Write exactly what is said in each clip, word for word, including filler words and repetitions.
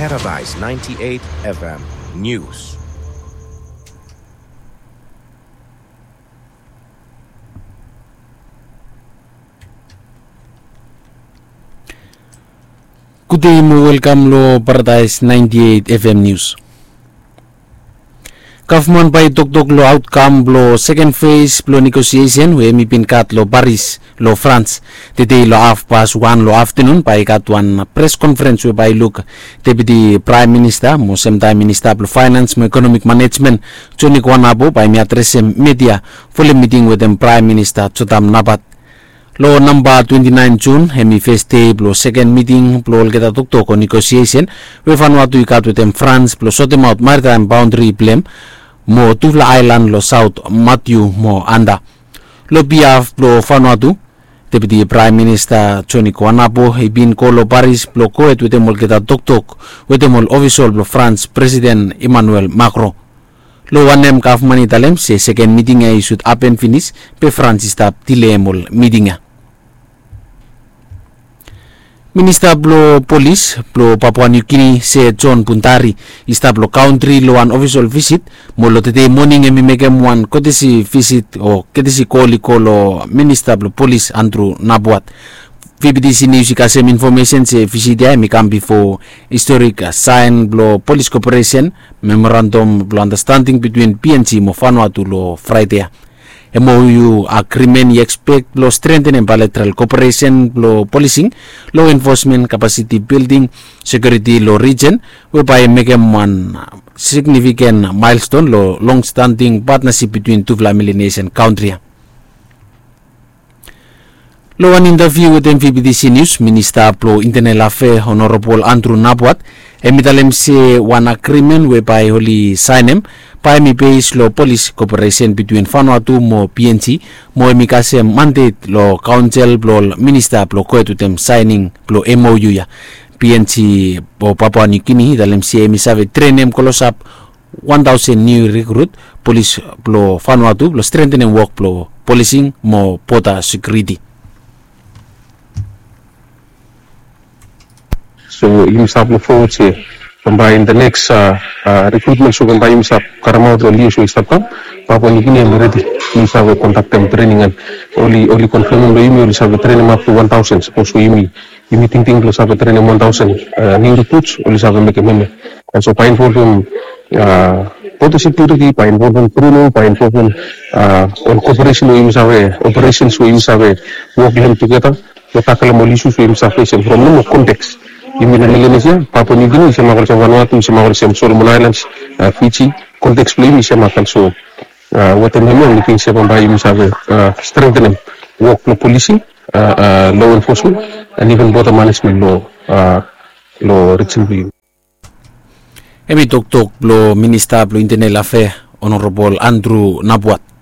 Paradise ninety-eight F M News. Gudei mo welkam lo Paradise ninety-eight F M News. Gavman bae i toktok lo aotkam blo seken fes blo negosiesen we hemi bin gat lo Paris lo Frans. Tedei lo hafpas wan lo aftenun bae i gat wan pres konferens we bae i luk Deputi Praem Minista mo semtaem Minista blo Faenans mo Ekonomik Manejmen Joni Kuanapo bae hemi adresem media folem miting wetem Praem Minista Jotam Napat. Lo namba twenti naen Jun hemi fes dei blo seken miting blo olgeta toktok o negosiesen we Vanuatu i gat wetem Frans blo sotemaot maritaem baondri blem mo tufala aelan lo saot, Matiu mo Anta. Lo bihaf blo Vanuatu, Deputi Praem Minista Joni Kuanapo i bin go lo Paris blo gohed wetem olgeta toktok wetem ol ofisol blo Frans Presiden Emmanuel Macron. Lo wanem gavman i talem se seken miting ya i sud hapen finis be Frans i stap dileem ol miting ya. Minista blo Polis blo Papua New Guinea se John Buntari i stap lo kantri lo wan ofisol visit mo lo tedei moning hemi mekem wan kotesi visit o kotesi kol i go lo Minista blo Polis Andrew Napuat. V B T C News i kasem infomesen se visit ya hemi kam bifo historik saen blo polis koperesen memorandum blo andastanding bitwin P N G mo Vanuatu lo Fraede ya. M O U agrimen i ekspek blo strentenem baeletral koperesen blo polising, lo enfosmen, kapasiti bilding, sekiuriti lo rijen we bae i mekem wan signifiken maelston lo longstanding patnasip bitwin tufala Melanesian kantri ya. Lo wan intaviu wetem V B T C News, Minista blo Intenel Afea Honorabol Andrew Napuat hemi talem se wan agrimen we bae oli saenem bae hemi bes lo polis koperesen bitwin Vanuatu mo P N G mo hemi kasem mandet lo kaonsel blo ol minista blo gohed wetem saening blo M O U ya. P N G o Papua New Guinea i talem se hemi save trenem klosap wan taosen niu rikrut polis blo Vanuatu blo strentenem wok blo polising mo boda sekiuriti. So yumi stap luk fowod se bambae in the next rikrutmen so bambae yumi stap karemaot lo lios we i stap kam, Papua New Guinea hemi redi. Yumi save kondaktem trening an oli oli konfemem lo yumi oli save trenem ap tu wan taosen sapos we yumi yumi tingting blo save trenem wan taosen niu rikruts oli save mekem hemia. An so bae involvem boda sekiuriti, bae involvem kriminal, bae involvem ol koperesen we yumi save, operesens we yumi save wok lo hem tugeta blo takelem ol isus we yumi save fesem from nomo konteks. Yumi lo Melanesia, Papua New Guinea i semak olsem Vanuatu, i semak olsem Solomon Islands, Fiji. Konteks blo yumi i semak an so wetem hemia mi ting se bambae yumi save strentenem wok blo polising, lo enfosmen an iven boda manejmen lo lo rijen blo yumi. Hemi toktok blo Minista blo Intenel Afea Honorabol Andrew Napuat.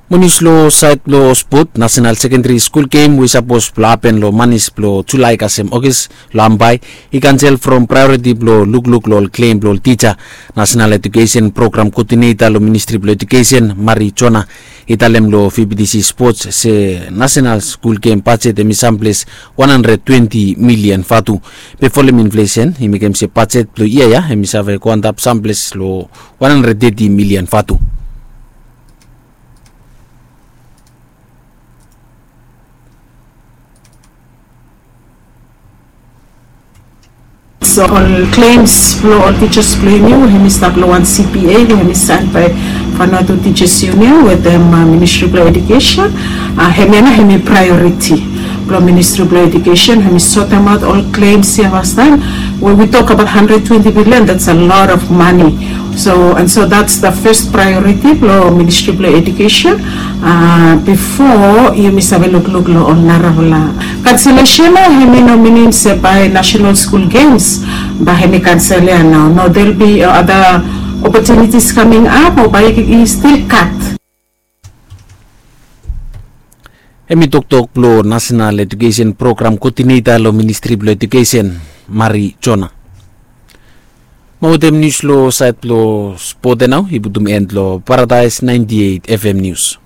Mo nius lo saed blo spot, Nasenal Sekendari Skul Gem we i sapos blo hapen lo manis blo Julae kasem Ogis lo Ambae i kansel from praeoriti blo lukluk lo ol klem blo ol tija. Nasenal Ejukesen Program Koodineta lo Ministri blo Ejukesen Mari Jona i talem lo V B T C Sports se Nasenal Skul Gem bajet hemi samples wan handred twenti milian vatu. Be folem inflesen i mekem se bajet blo yia ya hemi save go antap samples lo wan handred teti milian vatu. So ol klems blo ol tijas blo yumi we hemi stap lo wan C P A we hemi saen bae Vanuatu Teachers Union wetem Ministri blo Ejukesen. Hemia nao hemi praeoriti blo Ministri blo Ejukesen, hemi sotemaot ol klems ya fastaem. When we tok abaot handred twenti bilian, that's a lot of money. So and so that's the first priority blo Ministri blo Ejukesen bifo yumi save lukluk lo ol narafala kanselesen ya. Hemi no minim se bae Nasenal Skul Gems bae hemi kansel ya nao. No, there'll be other opportunities coming up o bae i stil gat. Hemi toktok blo Nasenal Ejukesen Program Koodineta lo Ministri blo Ejukesen Mari Jona. Mo wetem nius lo saed blo spot ya nao i putum en lo Paradaes naenti eit F M Nius.